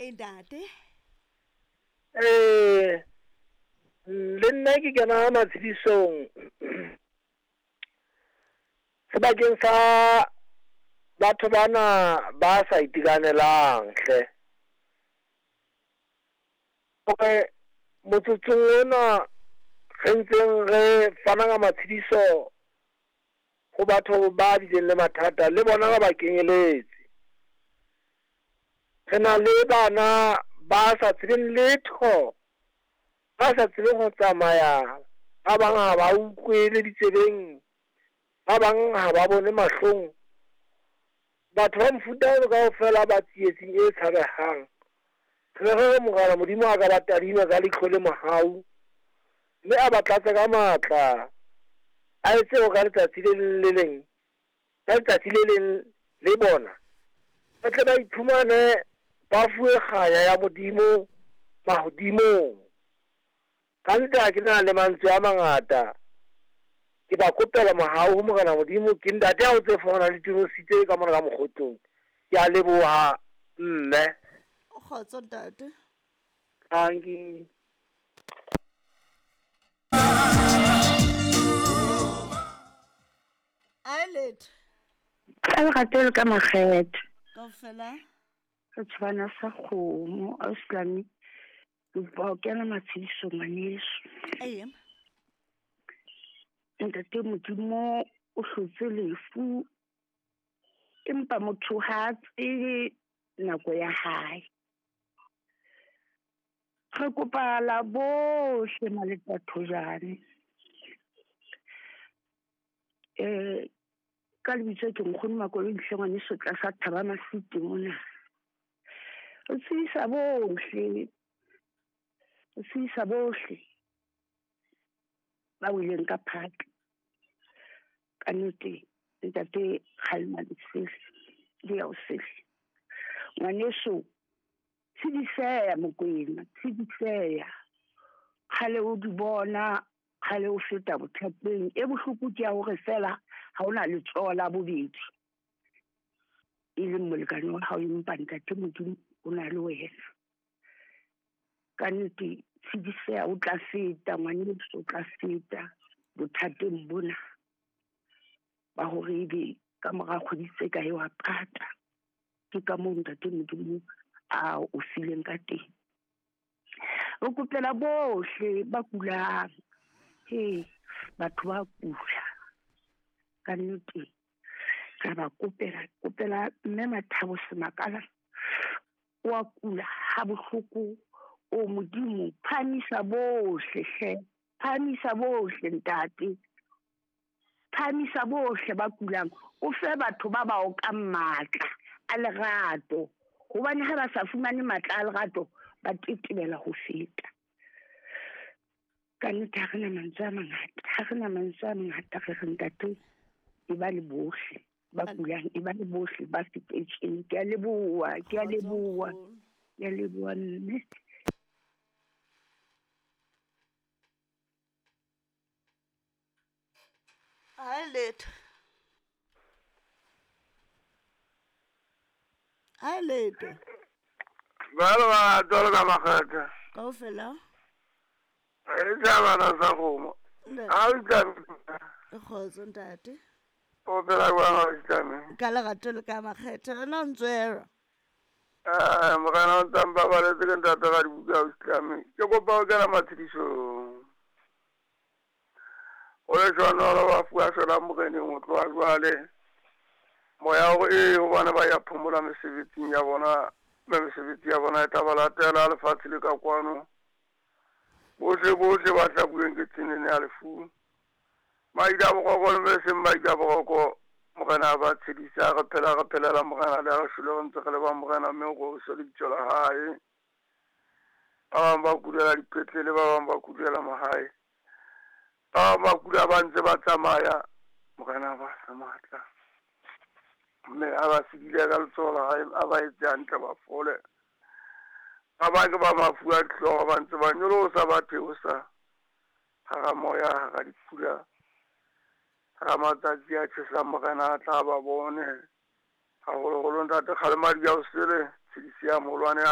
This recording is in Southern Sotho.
E ntate. Eh le nna ke kena matshedisong sebakeng sa batho bana ba sa itekanelang hle. Hore motsotsong ona re ntseng re fana ka matshediso ho batho ba bileng le mathata le bona ba ba kenyeletse. Re na le bana ba sa tsebeng letho, ba sa tsebeng ho tsamaya, ba bang ha ba utlwe le ditsebeng, ba bang ha ba bone mahlong. Batho ba mofuta ono kaofela ba tsietsing e tshabehang. Re re Morena Modimo a ka ba tadima ka leihlo le mohau, mme a ba tlatse ka matla, a etse hore ka letsatsi le leng le leng, ka letsatsi le leng le bona, ba tle ba iphumane ba fuwe kganya ya Modimo mahodimong. Ka nnete ha ke na le mantswe a mangata, ke ba kopela mohau ho Morena Modimo. Ke ntate a o tse fumana le tinositse ka mona ka mokgotlong. Ke a leboha mme. Kgotso ntate. Thank you. A letho. Ka lerato le ka makgethe. Kaofela. Re tshwana sa kgomo, ausilami. Ke kopa ho kena matshediso ngwaneso. Ee. Ntate Modimo o hlotse lefu, empa motho ha a tsebe nako ya hae. Re kopa la bohle Maletathojane. Ka lebitso ke nkgono Makoloi hle ngwaneso tlasa Thaba Masite mona. Re tsebisa bohle, re tsebisa bohle ba weleng ka phatla. Ka nnete ntate Kgalema Lesele le ya o sele. Ngwaneso tshidiseya Mokwena, tshidiseya. Kgale o di bona, kgale o feta bothateng. E bohloko ke ya hore fela ha ona letsoho la bobedi, e leng molekane wa hao, empa ntate Modimo o na le wena. Ka nnete tshidiseya, o tla feta ngwaneso, o tla feta bothateng bona ba hore ebe ka mora kgwedi tse kae wa pata. Ke ka moo ntate Modimo a o fileng ka teng. Re kopela bohle ba kulang. He, batho ba kula. Ka nnete re ba kopela, kopela mme Mathabo Semakala wa kula ha bohloko. O Modimo, phamisa bohle hle, phamisa bohle ntate, phamisa bohle ba kulang, o fe batho ba ba okang matla a lerato, hobane ha ba sa fumane matla a lerato ba tetebela ho feta. Ka nnete ha re na mantswe a mangata, ha re na mantswe a mangata, re re ntate e ba le bohle ba kulang, e ba le bohle ba fetetseng. Ke a leboha, ke a leboha, ke a leboha mme. A letho. A letho. Ba le ba tswalo ka makgetha. Kaofela. E tjabana sa kgomo. Ha o itlame. Kgotso ntate. O phela jwang ha o itlame? Ka lerato le ka makgethe. Rena o ntswera. Morena o ntsa mpabaletse ke ntate ga dibuka o itlame. Ke kopa ho kena matshedisong. O le jwanolo ba fuwa sona moreneng ho tloha jwale. Moya o e hobane ba ya phomola mesebetsing ya bona, mme mesebetsi ya bona e tla ba latela lefatshe le ka kwano. Bohle bohle ba hlabuweng ke tsenene ya lefu. Maida boroko le seng maida boroko, Morena a ba tshedisa, re phela re phelela Morena le ha re shwele re ntse re le ba Morena, mme o roriswe lebitso la hae. Ba bang ba kulela dipetlele, ba bang ba kulela mahae, ba bang ba kula ba ntse ba tsamaya. Morena a ba fe matla, mme a ba sedile ka letsoho la hae, a ba etse hantle ba fole. Ba bang ke ba mafu a dihlooho ba ntse ba nyolosa ba theosa hara moya, hara dipula, hara matsatsi a tjhesang. Morena a tla ba bone haholoholo ntate Kgalema Diaosele, tshedisi ya moholwane ya